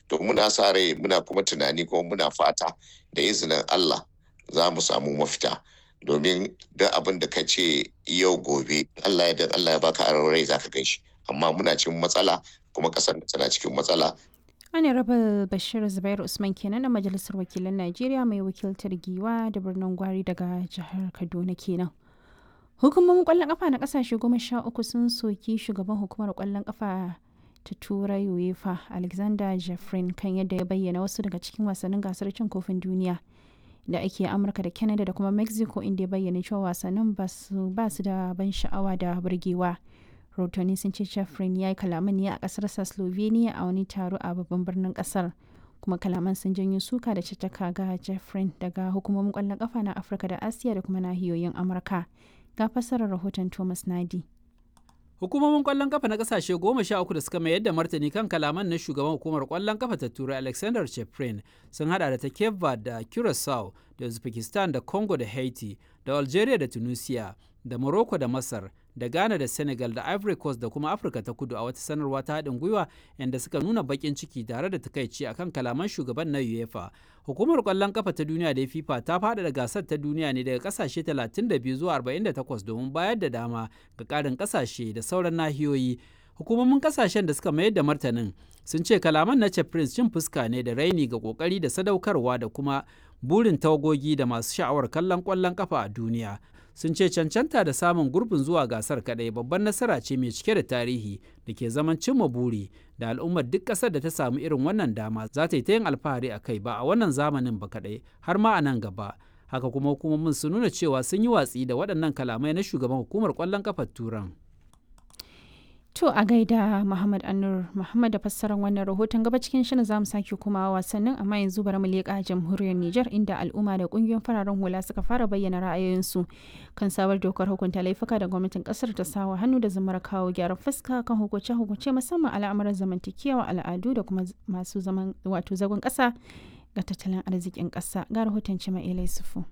To muna sa rai, muna kuma tunani, kuma muna fata da izinin Allah za mu samu mafita, domin duk abin da ka ce yau, gobe Allah ya dan Allah ya baka aron rai zaka gan shi. Amma muna cikin matsala, kuma kasar tana cikin matsala. Honorable Bashir Zubairu Usman kenan na Majalisar Wakilan Najeriya mai wakiltar Giwa da Birnin Gwari daga jihar Kaduna kenan. Hukumomin kwallon kafa na kasashe 13 sun soki shugaban hukumar kwallon kafa ta Turai UEFA Alexander Jeffrin kan yadda ya bayyana wasu daga cikin wasannin gasar cin kofin duniya da ake Amurka da Canada da kuma Mexico, inda ya bayyana cewa wasannin ba su da ban sha'awa da burgewa. Rahotanni sun ce Jeffrin ya yi kalaman ne a kasarsa Slovenia a wani taro a babban birnin kasar, kuma kalaman sun janyo suka da caccaka ga Jeffrin daga hukumomin kwallon kafa na Afirka da Asiya da kuma nahiyoyin Amurka. Ga fassarar rahoton Thomas Nadi. Hukumomin kwallon kafa na kasashe 13 da suka mayar da martani kan kalaman na shugaban hukumar kwallon kafa ta Turai Alexander Cheprin sun hada da ta Cape Verde da Curacao da Uzbekistan da Congo da Haiti da Algeria da Tunisia da Morocco da Masar da Ghana da Senegal da Ivory Coast da kuma Afirka ta Kudu, a wata sanarwa ta haɗin gwiwa inda suka nuna baƙin ciki tare da takaici akan kalaman shugaban na UEFA. Hukumar ƙwallon kafa ta duniya da FIFA ta faɗaɗa gasar ta duniya ne daga ƙasashe 32 zuwa 48 domin bayar da dama ga ƙarin ƙasashe da sauran nahiyoyi. Hukumomin kasashen da suka mayar da martanin sun ce kalaman na Prince cin fuska ne da raini ga kokari da sadaukarwa da kuma burin tawagogi da masu sha'awar kallon kwallon kafa a duniya. Sun ce cancanta da samun gurbin zuwa gasar kadai babban nasara ce mai cike da tarihi da ke zaman cimma buri da al'ummar duk ƙasar da ta samu irin wannan dama za ta yi ta yin alfahari a kai, ba a wannan zamanin ba kadai, har ma a nan gaba. Haka kuma hukumomin sun nuna cewa sun yi watsi da waɗannan kalamai na shugaban hukumar kwallon kafar Turan. To a gaida Muhammad Anur Muhammad da fassarar wannan rahoton. Gaba cikin shirin za mu sake kuma wasannin, amma yanzu bari mu leƙa jamhuriyar Nijar, inda al'umma da kungiyoyin fararen hula suka fara bayyana ra'ayoyinsu kan sabar dokar hukunta laifuka da gwamnatin kasar ta sawa hannu da zamar kawo gyaran fuska kan hukunce-hukunce, musamman al'amuran zamantakewa, al'adu da kuma masu zaman wato zagon ƙasa ga tattalin arzikin ƙasa. Ga rahoton Cima Sufu.